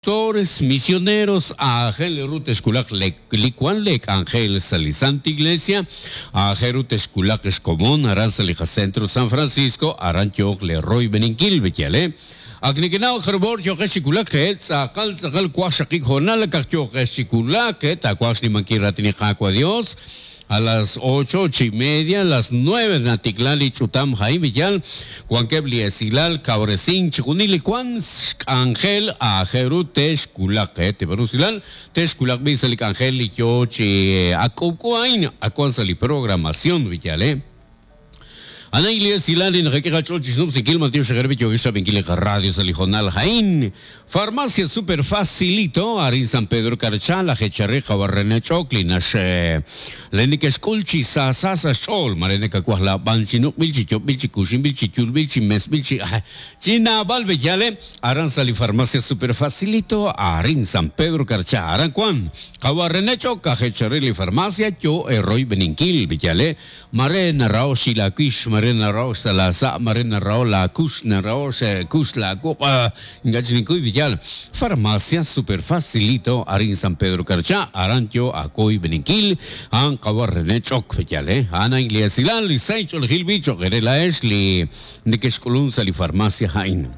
Pastores, misioneros, aajel ru texwulaq li wan lee k'anjel sa' li Santa Iglesia, aajel ru texwulaq xkomon aran sa' li qacentro San Francisco, aran yooq lee royb'eninkil, b'eyal, eh? Ak nekenaw jarub'or yooqex chi wulak, eh? Tz'aqal tz'aqal waqxaqib' hoonal akaq yooqex chi wulak, eh? Taawaj xnimankil raatin li Qaawa' Dios. A las ocho chi media, las nueve natikla li ch'utam ha'in b'iyal, wankeb' li esilal kawresink chixjunil li wank xk'anjel aajel ru te'xwulaq qe tib'an usilal te'xwulaq b'i' sa' li k'anjel li yoo chi ak k'ub'k'u a'in ak wan sa' li programación b'iyal e. A'an li esilal li naqak'e qach'ool chi xnub'sinkil b'antiox xe'qe b'i' yookex xrab'inkil li qaradio sa' li hoonal a'in. Farmacia Super Facilito, arin San Pedro Carchá, laj eechal re qawa' René Ch'ok li nax le neke'xk'ul chi saasa sa' xch'ool, mare nakawaj laab'an chi nuq'b'il, chi yob'b'il, chi kuxinb'il, chi yulb'il, chi mesb'il, chi chi naab'al b'eyal e aran sa' li Farmacia Super Facilito, arin San Pedro Carchá, aran wan qawa' René Ch'ok aj eechal re li farmacia yo eroyb'eninkil b'eyal e. Mare naraho' xi laawix, mare naraho' xsa' laasa', mare naraho' laakux, naraho' xkux laawuq', ink'a' chik ninkuy b'iyal. Farmacia Super Facilito arin San Pedro Carchá, aran yo aawoyb'eninkil, a'an qawa' René Ch'ok b'iyal, eh. A'an a'in li esilal, li sahil ch'oolejil b'i cho'q eere laa'ex li nekexk'ulunk sa' li farmacia a'in.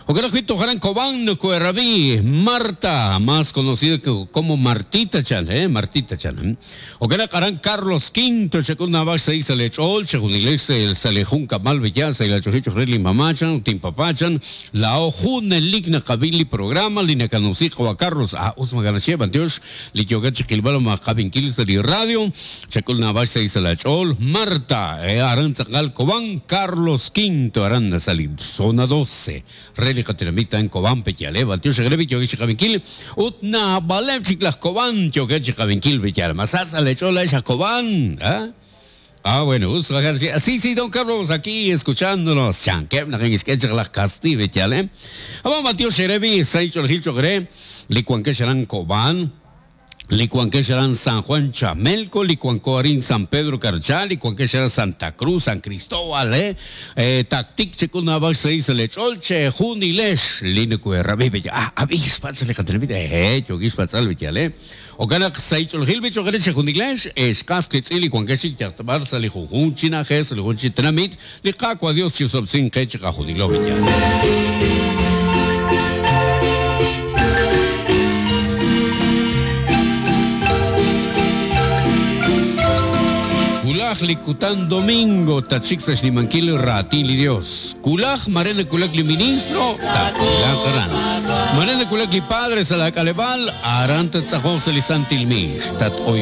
Jo'kan ajwi' toj aran Cobán nokoherab'i Marta, más conocida como Martita chan, eh, Martita chan. Jo'kan naq aran Carlos Quinto chak'ul naab'al xsahil sa' lee ch'ool, chejunilex sa' lee junkab'al b'eya sa' li ach'oji cho'q re lin mamá chan ut inpapá chan, laa'o junelik naqab'i li programa li nakanumsi qawa' Carlos, ah, us maak'a' naxye, b'antiox li yookat chi qilb'al ma qab'inkil sa' li radio. Chak'ul naab'al xsahil sa' laach'ool, Marta, aran tz'aqal Cobán, Carlos Quinto, aran sa' li Zona Doce re li qatenamit a'an Cobán Peyale, b'antiox reheb' yookeb' chi qab'inkil ut naab'aleb' chik laj Cobán yookeb' chi qab'inkil Peyale. Ma sa sa' leech'ool laa'ex aj Cobán? Ah, ah bueno, us Sí, sí, don Carlos, aquí escuchándonos. Chankeb' naq inkixk'e chaq laj Casti Peyale. Ab'an b'antiox reheb' sahil ch'oolejil cho'q re li wankex aran Cobán. Li wankex aran San Juan Chamelco, li wanko arin San Pedro Carchá, li wankex aran Santa Cruz, San Cristóbal, eh, Tactic chek'ul naab'al xsahil sa' leech'ool chejunilex li nokoherab'i b'eya. Ah, ab'i xpatz' li qatenamit, eh, yookin xpatz'al b'eyal, eh. Jo'kan naq sahil ch'oolejil b'i cho'q eere chejunilex, ex qas qiitz'in li wankex chik yalaq ta b'ar sa' li junjunq chi na'ajej, sa' li junjunq chi tenamit, Li Qaawa' Dios chisob'sinq qe chiqajunilo b'iyal. Wulaj li kutan domingo tatxik sa' xnimankil raatin li Dios. Wulaj mare nawulak li ministro, tatwulaq aran. Mare nawulak li padre sa' laak'aleb'aal, aran tattz'aqonq sa' li santil miis. Tat-oyb'enq.